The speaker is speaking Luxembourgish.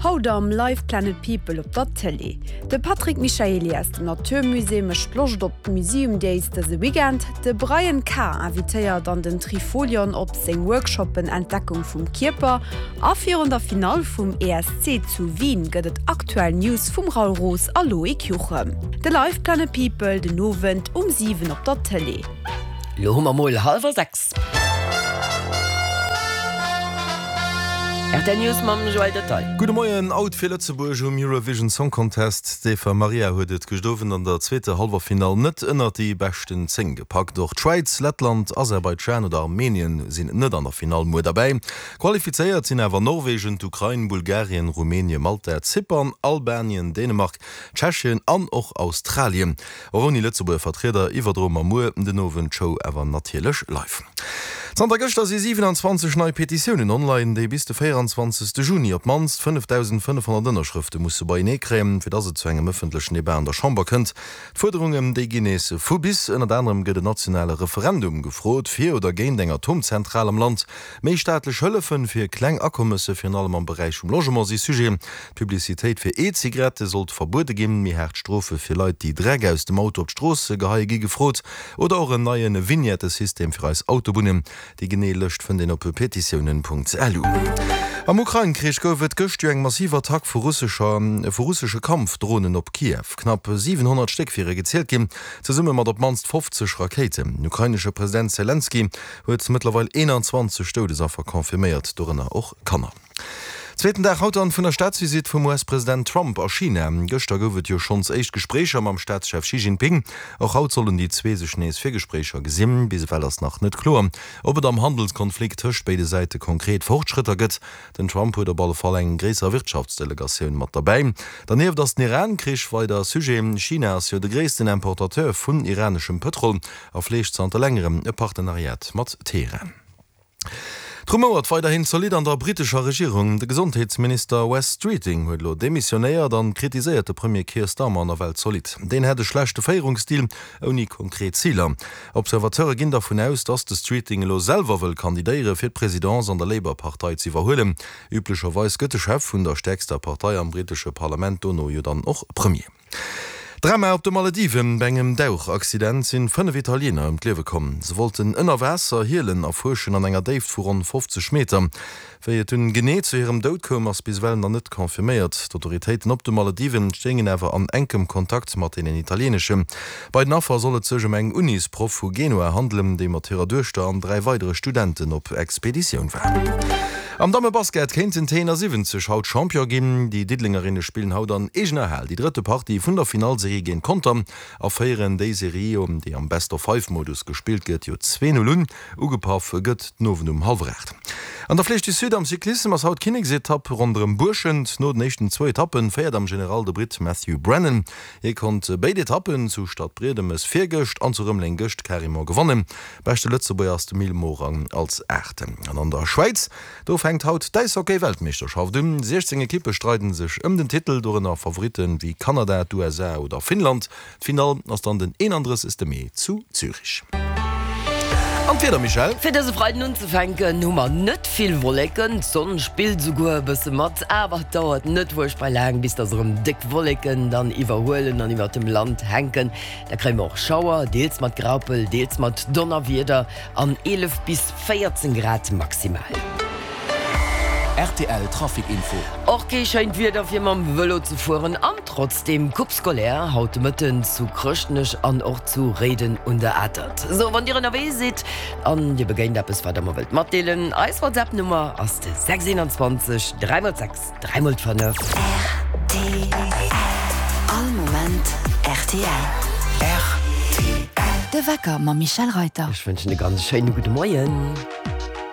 Haut am Live Planet People op der Tëlee. De Patrick Michaely aus dem Natur Musée mécht Loscht op d'Museum Days dëse Weekend. De Brian K. invitéiert an den Trifolion op seng Workshoppen Entdeckung vum Kierper. A virun der Finall vum ESC zu Wien gëtt et aktuell News vum Raoul Roos a Loïc Juchem. De Live Planet People den Owend um 7 op der Tëlee. Lo hu mer mol hallwer 6. Rtl News mam Joël Detaille. Gudde Moien, Out fir Lëtzebuerg um Eurovision Song Contest. D'Eva Marija huet et gëscht Owend an der zweeter Hallwerfinall net ënnert déi beschten 10 gepackt. Och d'Schwäiz, Lettland, Aserbaidschan oder Armenien sinn net an der Finall muer derbäi. Qualifizéiert sinn awer Norwegen, d'Ukrain, Bulgarien, Rumänien, Malta, Zypern, Albanien, Dänemark, Tschechien an och Australien. Och ouni Lëtzebuerger Vertrieder iwwerdroe mer muer den Owend d'Show awer natierlech live. Zanter gëschter si 27 nei Petitiounen online, déi bis de 24. Juni op d'mannst 5.500 Ënnerschrëfte musse beienee kréien, fir dass et zu engem ëffentlechen Debat an der Chamber kënnt. D'Fuerderungen, déi ginn nees vu bis. Ënnert anerem gëtt en nationale Referendum gefrot, fir oder géint eng Atomzentral am Land. Méi staatlech Hëllefen fir kleng Akommesse, virun allem am Beräich vum Logement, si Sujet. D'Publicitéit fir E-Zigarette sollt verbuede ginn, méi haart Strofe fir Leit, déi Dreck aus dem Auto op d'Strooss geheie gi gefrot oder och en neie Vignettesystem fir eis Autobunnen. Déi genee Lëscht fënnt een op petitiounen.lu. Am Ukrain-Krich gouf et gëscht jo eng massiv Attack vu russescher vu russesche Kampfdronen op Kiew. Knapp 700 Stéck wiere gezielt ginn, zesumme mat op d'mannst 50 Rakéiten. Den ukrainesche President Selenskyj huet mëttlerweil 21 Doudesaffer confirméiert, dorënner och Kanner. Zweeten Dag haut dann vun der Staatsvisitt vum US-President Trump a China. Gëschter gouf et jo schonns éischt Gespréicher mam Staatschef Xi Jinping. Och haut sollen déi zwee sech nees fir Gespréicher gesinn. Bis ewell ass nach net kloer, ob et am Handelskonflikt tëscht béide Säite konkret Fortschrëtter gëtt. Den Trump huet op alle Fall eng gréisser Wirtschaftsdelegatioun mat derbäi. Dernieft ass den Iran-Krich weider Sujet. China ass jo de gréissten Importateur vun iraneschem Pëtrol a fleegt zanter längerem e Partenariat mat Teheran. Et rumouert weiderhin zolidd an der brittescher Regierung. De Gesondheetsminister Wes Streeting huet elo demissionéiert an kritiséiert de Premier Keir Starmer nawell zolidd. Deen hätt e schlechte Féierungsstil ouni konkret Ziler. Observateure ginn dervun aus, datt de Streeting elo selwer wëll kandidéiere fir d'Presidence an der Labour-Partei ze iwwerhuelen. Üblecherweis gëtt de Chef vun der stäerkster Partei am brittesche Parlament dono jo dann och Premier. Drama op de Malediven, Bei engem Dauchaccident sinn 5 Italiener ëm d'Liewe komm. Se wollten ënner Waasser Hielen erfuerschen an enger Déift vu ronn 50 Meter. Wéi et dunn genee zu hirem Doud koum, ass bis ewell nach net confirméiert. D'Autoritéiten op de Malediven stéingen awer an enkem Kontakt mat deenen italieeneschen. Bei den Affer soll et sech ëm eng Unisproff vu Genua handelen, déi mat hirer Duechter an 3 weidere Studenten op Expeditioun war. Am Dammebasket kéinten d'T71 haut Champion ginn. Déi Diddelengerinne spillen haut an eegener Hal déi drëtte Partie vun der Finallserie géint Conter a féieren déi Serie, déi am Best-of-Five-Modus gespillt gëtt, jo 2, 0 un. Ugepaff gëtt den Owend um hallwer 8. An der Flèche du Sud am Cyclissem ass haut d'Kinneksetapp ronderëm Buerschent. No den éischten zwou Etappe féiert am General de Britt Matthew Brennan. Hie konnt béid Etappen zu Stadbriedemes virgëscht an zu Rëmeleng gëscht carrément gewannen. Beschte Lëtzebuerger ass de Mil Morang als Aachten. An an der Schwäiz, do fänkt haut d'Äishockey-Weltmeeschterschaft un. 16 Ekippe streiden sech ëm den Titel, dorënner Favoritte wéi Kanada, d'USA oder Finnland. D'Finall ass dann den 31. Mee zu Zürich. An d'Wieder, Michèle? Fir dëse Freiden unzefänken hu mer net vill Wolleken, d'Sonn spillt esouguer e bësse mat, awer et dauert net fuerchtbar laang, bis dass erëm déck Wolleken dann iwwerhuelen an iwwert dem Land hänken. Da kréie mer och Schauer, deels mat Graupel, deels mat Donnerwieder an 11 bis 14 Grad maximal. Rtl Trafic Info. Och kee schéint Wieder fir mam Vëlo ze fueren an trotzdeem Coupe scolaire haut de Mëtten zu Chrëschtnech an och zu Réiden un der Atert. Sou, wann dir ënnerwee sidd an dir begéint eppes wat der mer wëllt matdeelen, eis WhatsApp Nummer ass de 621 3 x 6. 3 mol 5. Rtl. All Moment rtl. Rtl. De Wecker mam Michèle Reyter. Ech wënschen e ganz schéine gudde Moien.